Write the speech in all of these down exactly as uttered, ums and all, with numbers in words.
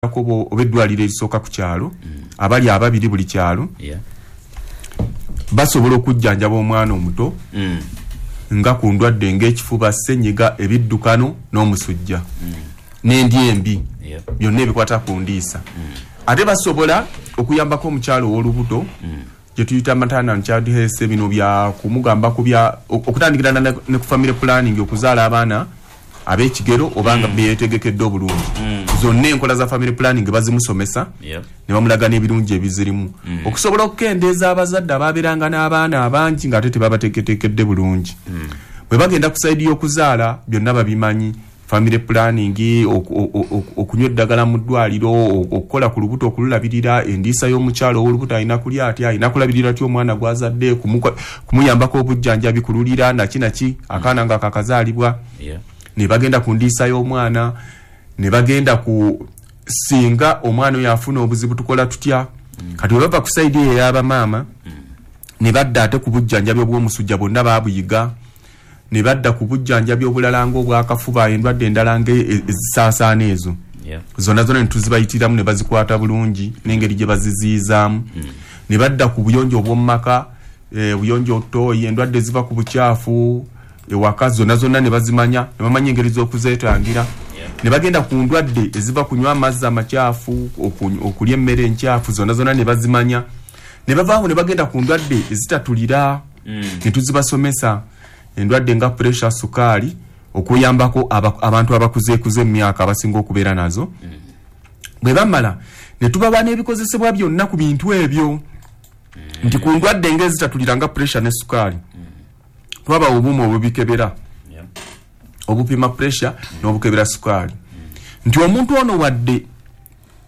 Oba eddwaliro erisooka ku kyalo, abali ababiri buli kyalo, Yeah. basobola okujjanjaba omwana omuto Mm. nga ku ndwadde ng'ekifuba, ssenyiga, ebiddukano n'omusujja n'endya embi, Yeah. byonna ebikwata ku ndiisa. Ate basobola okuyambako omukyalo ow'olubuto gye tuyita maternal and child health, bino bya kumugamba ku bya okutandikira ddala ne ku family planning, okuzaala abaana ab'ekigero oba nga beetegekedde obulungi. Zonna enkola za family planning bazimusomesa Yeah. ne bamulaga n'ebirungi ebizirimu, okusobola okukendeeza abazadde ababeeranga n'abaana abangi ng'ate tebabateeketeekedde bulungi. Bwe bagenda ku side y'okuzaala, byonna babimanyi: family planning, oku- o- o- okunywa eddagala mu ddwaliro, o- okukola ku lubuto, okululabirira, endiisa y'omukyalo ow'olubuto, alina kulya atya, alina kulabirira atya omwana gw'azadde, kumuko- kumuyambako obujjanjabi, kululira naki naki akaana nga kakazaalibwa. Yeah. Ne bagenda ku ndiisa y'omwana, ne bagenda ku singa omwana oyo afuna obuzibu tukola tutya. Kati bwe bava ku side eyo ey'abamaama, ne badda ate ku bujjanjabi obw'omusujja, bonna baabuyiga. Ne badda ku bujjanjabi obulala ng'obwakafuba, endwadde endala nga e- ezisaasaana ezo Yeah. zonna zonna ne tuzibayitiramu ne bazikwata bulungi n'engeri gye baziziizaamu. Ne badda ku buyonjo obw'omu maka, eh, obuyonjo, toyi, endwadde eziva ku bukyafu ewaka, zonna zonna ne bazimanya, ne bamanya engeri z'okuzeetangira. Ne bagenda ku ndwadde eziva kunywa amazzi amakyafu, oku- okulya emmere enkyafu, zonna zonna ne bazimanya. Ne bavaawo ne bagenda ku ndwadde ezitatulira ne tuzibasomesa, endwadde nga pressure, sukaali, okuyambako aba- abantu abakuzeekuze emyaka abasinga okubeera nazo. Bwe bamala ne tubawa n'ebikozesebwa byonna ku bintu ebyo, nti ku ndwadde ng'ezitatulira nga pressure ne sukaali, twabawa obuuma obubikebera, Yeah. obupima pressure n'obukebera sukaali, nti omuntu ono wadde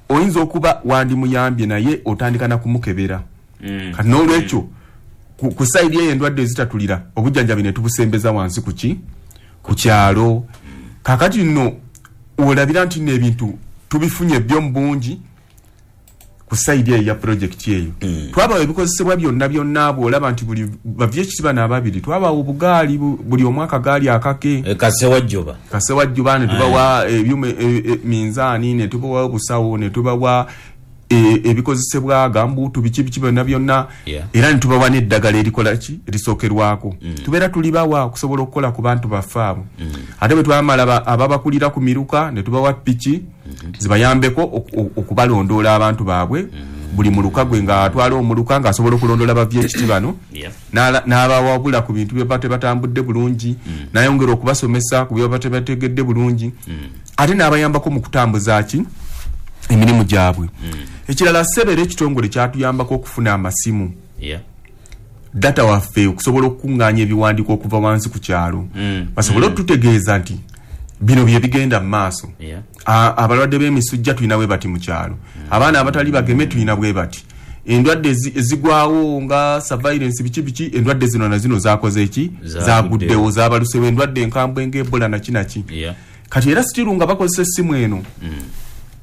oyinza okuba wandimuyambye, naye otandika na kumukebera. Mm. Kati n'olwekyo ku, ku side eyo endwadde ezitatulira, obujjanjabi ne tubusembeza wansi ku ki ku kyalo. Kakati nno olabira nti nno ebintu tubifunye byo mu bungi ku side eyo ya projekiti eyo. Twabawa ebikozesebwa byonna byonna. Bwolaba nti buli bavye bano ababiri twabawa obugaali, bu- buli omu akagaali akake. E, kasewajjoba. Kasewajjuba. Ne tubawa ebyuma, e- e- minzaani, ne tubawa obusawo, ne tubawa e- ebikozesebwa, gambuutu, biki biki byonna byonna. Yeah. Era ne tubawa n'eddagala erikola ki, erisookerwako, tubeera tulibawa okusobola okukola ku bantu baffe abo. Ate bwe twamala, ba- ababakulira ku miruka ne tubawa piki zibayambeko oku- oku- okubalondoola abantu baabwe. Buli muluka gwe ng'atwala omuluka ng'asobola okulondoola bavyekiti bano, Yeah. n'ala- n'abawabula ku bintu byeba tebatambudde bulungi, n'ayongera okubasomesa ku byeba tebategedde bulungi, ate n'abayambako mu kutambuza ki, emirimu gyabwe. Ekirala, sebera ekitongole kyatuyambako okufuna amasimu, Yeah. data waffe, okusobola okukuŋŋaanya ebiwandiiko okuva wansi ku kyalo, Mm. basobole okututegeeza nti bino bye bigenda mu maaso. Yeah. A- abalwadde b'emisujja tulina bwe bati mu kyalo, abaana abatali bageme tulina bwe bati, endwadde ezi- ezigwawo nga surveillance, biki biki, endwadde zino na zino zakoze ki, Zaguddewo. zaguddewo, zabalusewo, endwadde enkambwe ng'ebola naki naki. Yeah. Kati era still nga bakozesa essimu eno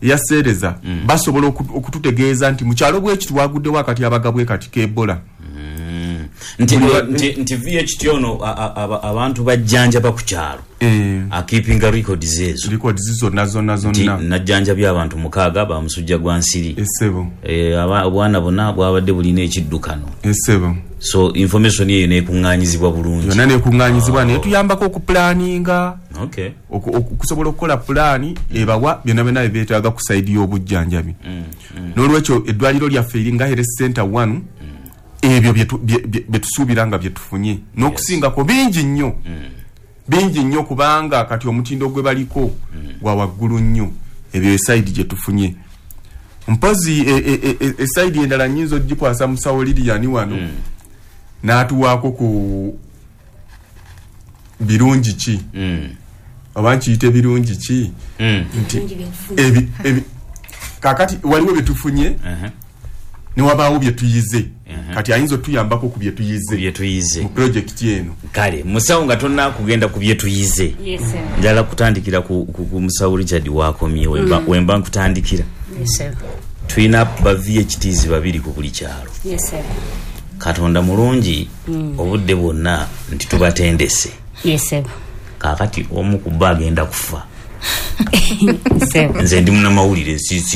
eya seereza, basobola oku- okututegeeza nti mu kyalo bwekiti waguddewo akati abaga bwe kati k'ebola. Mm. nti, Buli wa- nti, nti V H T ono a- a- aba- abantu bajjanjaba ku kyalo, Eh, akeepinga records ezo? Records zonna zonna. Nti Zonna. najjanjabye abantu mukaaga bamusujja gwa nsiri. Essebo. Eh, aba- obwana bonna bwabadde bulina ekiddukano. Essebo. So information eyo nekuŋŋanyizibwa bulungi? Yonna nekuŋŋanyizibwa, naye tuyambako okupulaninga, okay. oku- oku- okusobola okukola pulaani ebawa byonna byonna bye beetaaga ku side y'obujjanjabi. N'olwekyo eddwaliro lyaffe eri nga health center one, ebyo bye tu- bye- bye bye tusuubira nga bye tufunye n'okusingako bingi nnyo, bingi nnyo, kubanga kati omutindo gwe baliko gwa waggulu nnyo. Ebyo e side gye tufunye. Mpozi e- e- e- e- e side endala nyinza ogikwasa musawo Liriyani wano n'atuwaako ku birungi ki, Mm. oba nkiyite birungi ki, Mm. nti ebi, ebi, kakati waliwo byetufunye Uh-huh. newabaawo byetuyize. Mhm. Kati ayinza otuyambako ku byetuyize Bye tuyize mu projekiti eno. Kale musawo, nga tonna kugenda ku byetuyize, Yes, sir. njala kutandikira ku, ku, ku musawo Richard wakomye. Wemba, wemba nkutandikira, Yes, sir. tulina ba V H Ts babiri ku buli kyalo. Yes, sir. Katonda mulungi obudde bwonna nti tubatendese. Yes, sir. Kaakati omu ku bo agenda kufa. Sebo. Nze ndi munamawulire, si- siri